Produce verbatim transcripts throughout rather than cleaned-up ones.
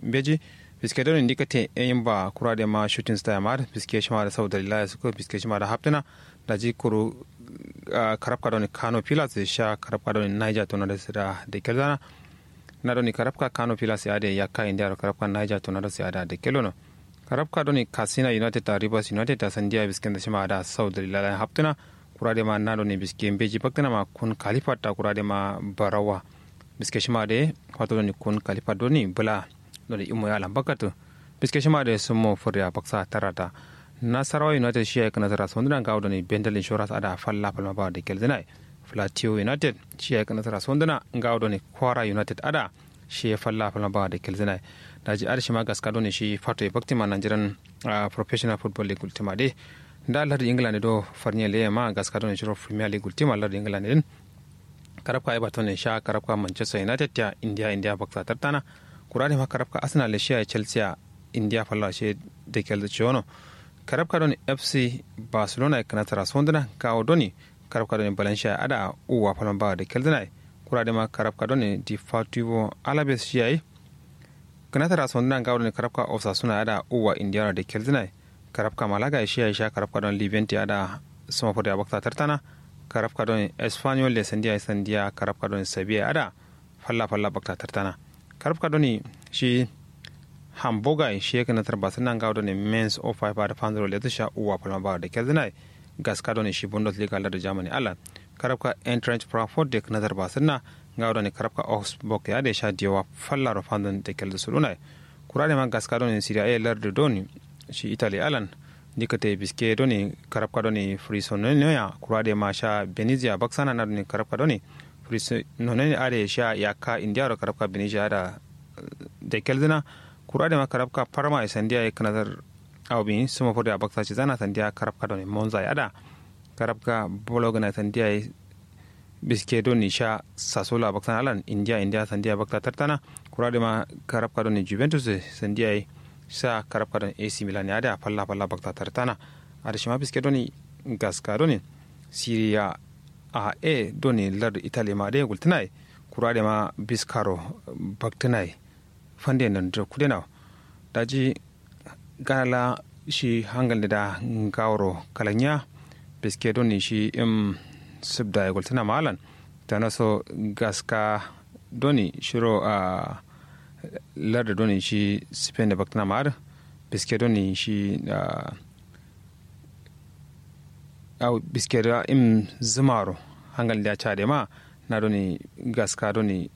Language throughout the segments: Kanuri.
mbeji. Biske done ndikate eyin ba kura de ma shooting star ya ma adǝ biske shima da sau dalila ya suko biske shima da haptǝna. Daji kuru karabka done kano pilas sha karabka done niger tornadoes da da kelzana. Na done karabka kano pilas ya adǝ yakka indiya ro karabka niger tornadoes ya adǝ da kellono. Karabka done katsina united da rivers united da sandiya bisken da shima da sau dalila la haptǝna. Kura de ma na done biske mbeji baktǝna ma kun kalifat da kura de ma barawa. Biske shima de fato done kun kalifat done bula done imo ya lambakatu. Biske shima de sumo furya baksa tarata. Nasarawa united shi ya yi kanasara sonduna ngawo done bendal insurance ada falla falma ba da kelzina. Plateau united shi ya yi kanasara sonduna ngawo done kwara united ada shi ya falla falma ba da kelzina. Daji ada shima gaska done shi fato ya baktima nanjiran professional football league ultima de. Nda lardi england do farnye leye ma gaska done shiro premier league ultima lardi england din. Karabka everton ne sha karabka manchester united ya indiya indiya baksa tartana. Kura de ma karabka arsenal le shiya chelsea ya indiya falla she da kelda ciwono. Karabka doni fc barcelona ya kanasara sonduna kawo doni karabka doni valencia ya ada uwa falma ba da kelduna. Kura de ma karabka doni deportivo alaves shiya yi kanasara sonduna ngawo doni karabka osasuna ya ada uwa indiya da kelduna. Karabka malaga ya shiya yi sha karabka doni levante ya ada suma furya baksa tartana. Karabka doni espanyol le sandiya sandiya karabka doni sabiya ya ada falla falla bakta tartana. Karabka doni shi hamburger shi ya kanatar basu nan gawo doni mens o five da fanzuro lezu sha uwa falma ba da kelduna. Gaska doni shi bundesliga lar da germany allan karabka entrance frankfurt da kanatar basu nan gawo doni karabka augsburg ya da sha diyawa falla ro fanzun da keldu suluna. Kura de ma gaska doni serie a lar da doni shi italy allan. Ndikate biske doni karabka doni frisononiya kura de ma sha benizia baksana na doni karabka doni frisononiya are sha yakka indiya ro karabka benizia ada da kelduna. Kura de ma karabka parma ya sandiya ya kanasar aubin suma furya baksa ci zana sandiya karabka doni monza ya ada karabka bologna ya sandiya ya biske doni sha sasula baksa alan indiya indiya sandiya baksa tartana. Kura de ma karabka doni juventus sandiya ya sha karabka doni ac milan ya ada falla falla baksa tartana. Ada shima biske doni gaska doni serie a doni lar italy ma de gultuna. Kura de ma biskaro baktunai fande nan da kudena. Daji gana la shi hangal da ngawro kalanya biske doni shi im subda ya gultuna ma alan. Tana so gaska doni shiro a lar da doni shi spain da baktuna ma adǝ biske doni shi a au biske da im zumaro hangal da ya ca de ma na doni gaska doni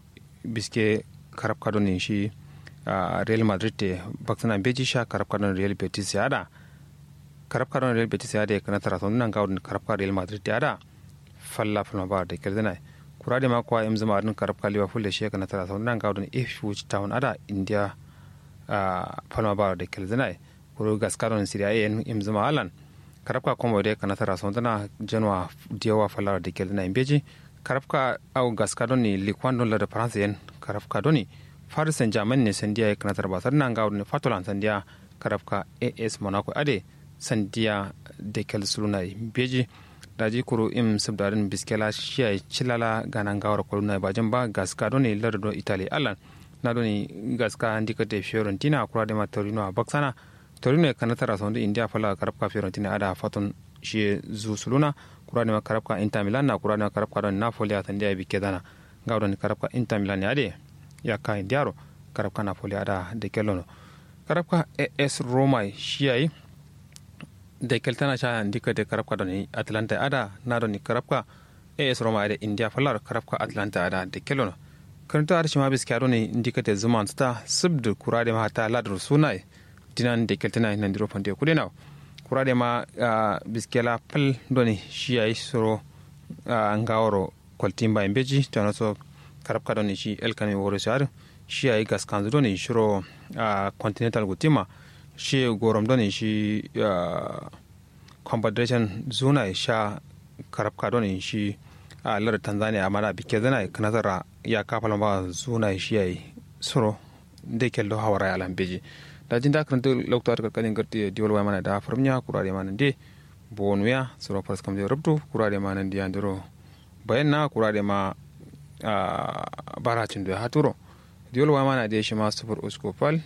biske karabka doni shi real madrid te baksana mbeji sha karabka doni real betis ya da. Karabka doni real betis ya da ya kanatara sonduna ngawo doni karabka real madrid ya da falla falma ba da kelduna. Kura de ma kwa im zuma doni karabka liverpool da shi ya kanatara sonduna ngawo doni ipswich town ada indiya falma ba da kelduna. Kuru gaska doni serie a yen im zuma alan karabka komo de kanatara sonduna januwa diyawa fallara da kelduna mbeji. Karabka au gaska doni likwan don lar da france yen karabka doni faris saint germain ne sandiya ya kanatar basar na ngawo doni fatolan sandiya karabka as monaco ade sandiya da kel suluna mbeji. Daji kuru im subda din biske la shiya cilala gana ngawar koluna bajin ba gaska doni lar do italy alan. Na doni gaska ndikate fiorentina kura de ma torino a baksana. Torino ya kanatara sondu indiya falla karabka fiorentina ada faton shi zu suluna. Kura de ma karabka inter milan na kura de ma karabka don napoli a sandiya bikke dana. Ngawo doni karabka inter milan ya de yakka indiya ro karabka napoli ada da kellono. Karabka as roma shiya yi da keltana sha ndikate karabka doni atlanta ada na doni karabka as roma ada indiya fallar karabka atlanta ada da kellono. Karanta ada shima biskiya doni ndikate zuman suta subdu kura de ma hatta ladar suna yi. Dinan da keltana yi nandiro fande kude nawo kura de ma biskela fal doni shiya yi suro ngaworo kwaltin bayi mbeji tano so karabka doni shi elkami woro so adǝ. Shi yayi gaskanzu doni shiro continental gultin ma shi gorom doni shi confederation zuna ye sha karabka doni shi lar tanzania amma da bikke zuna ye kǝnazara yakka falma ba zuna ye shi yayi suro nde keldo hawara ye alan mbeji. Daji nda kǝrǝntǝ loktu adǝ kalkalin gartǝ ye diwal wayi mana da fǝrǝm nya kura de mana nde bonu ya suro farsǝ kam de rubtu kura de mana nde yandiro bayan na kura de ma bara cindo ya haturo. Diwal wayi mana de shima sufur usku fal